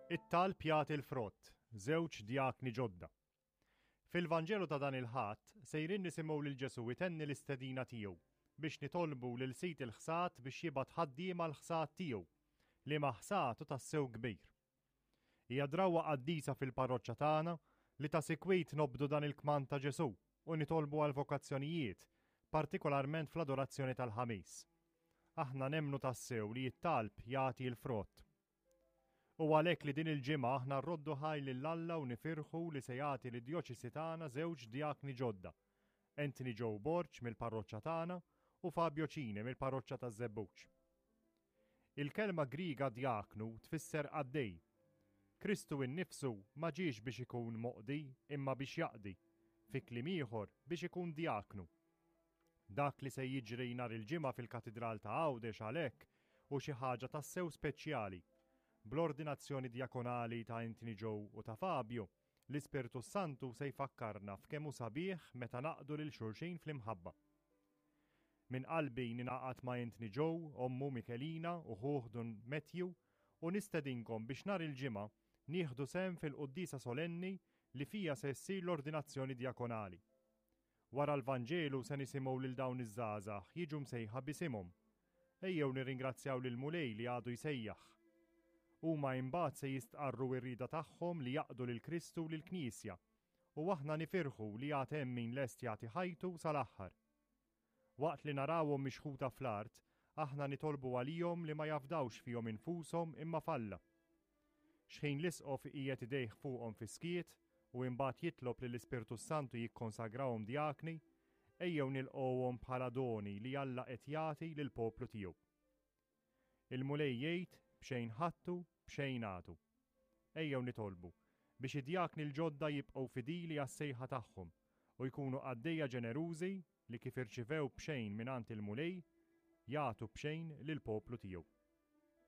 It-talb jagħti l-frott, żewġ djakni ġodda. Fil-Vanġelu ta' dan il-Ħadd sejrin nisimgħu lil Ġesù jtenni l-istedina tiegħu biex nitolbu lil Sid il-ħsad biex jibgħat ħaddiema l-ħsad tiegħu, liema ħsad hu tassew kbir. Hija drawwa qaddisa fil-parroċċa tagħna li ta' sikwit nobdu dan il-kmand ta' Ġesù u nitolbu għall-vokazzjonijiet, partikolarment fl-adorazzjoni tal-Ħamis. Aħna nemmnu tassew li t-talb jagħti l-frott. Hu għalhekk li din il-ġimgħa aħna rroddu ħajr lil Alla u nifirħu li se jagħti lid-djoċesi tagħna żewġ djakni ġodda, Anthony Joe Borg mill-parroċċa tagħna u Fabio Cini mill-parroċċa taż-Żebbuġ. Il-kelma Griega djaknu tfisser qaddej. Kristu innifsu ma ġiex biex ikun moqdi imma biex jaqdi, fi kliem ieħor biex ikun djaknu. Dak li se jiġri nhar il-Ġimgħa fil-Katidral ta' Għawdex għalhekk hu xi ħaġa tassew speċjali. Bl-ordinazzjoni djakonali ta' Anthony Joe u ta' Fabio, l-Ispirtu s-Santu se jfakkarna f'kemm hu sabiħ meta naqdu lil xulxin fl-imħabba. Minn qalbi ningħaqad ma' Anthony Joe, ommu Michelina u ħuh Dun Matthew u nistedinkom biex nhar il-Ġimgħa nieħdu sehem fil-quddiesa solenni li fiha se ssir l-ordinazzjoni djakonali. Wara l-Vanġelu se nisimgħu lil dawn iż-żgħażagħ jiġu msejħa b'isimhom. Ejjew nirringrazzjaw lill-Mulej li għadu jsejjaħ. Huma imbagħad se jistqarru r-rieda tagħhom li jaqdu lil Kristu u lill-Knisja, u aħna nifirħu li għad hemm min lest jagħti ħajtu sal-aħħar. Waqt li narawhom mixħuta fl-art, aħna nitolbu għalihom li ma jafdawx fihom infushom imma f'Alla. Xħin l-Isqof iqiegħed idejh fuqhom fis-skiet u imbagħad jitlob lill-Ispirtu s-Santu jikkonsagrahom djakni, ejjew nilqgħuhom bħala doni li Alla qed jagħti lill-poplu tiegħu. Il-Mulej jgħid, b'xejn ħadtu, b'xejn agħtu. Ejjew nitolbu biex id-djakni l-ġodda jibqgħu fidili għas-sejħa tagħhom u jkunu qaddejja ġenerużi li kif irċivew b'xejn mingħand il-Mulej, jagħtu b'xejn lill-poplu tiegħu.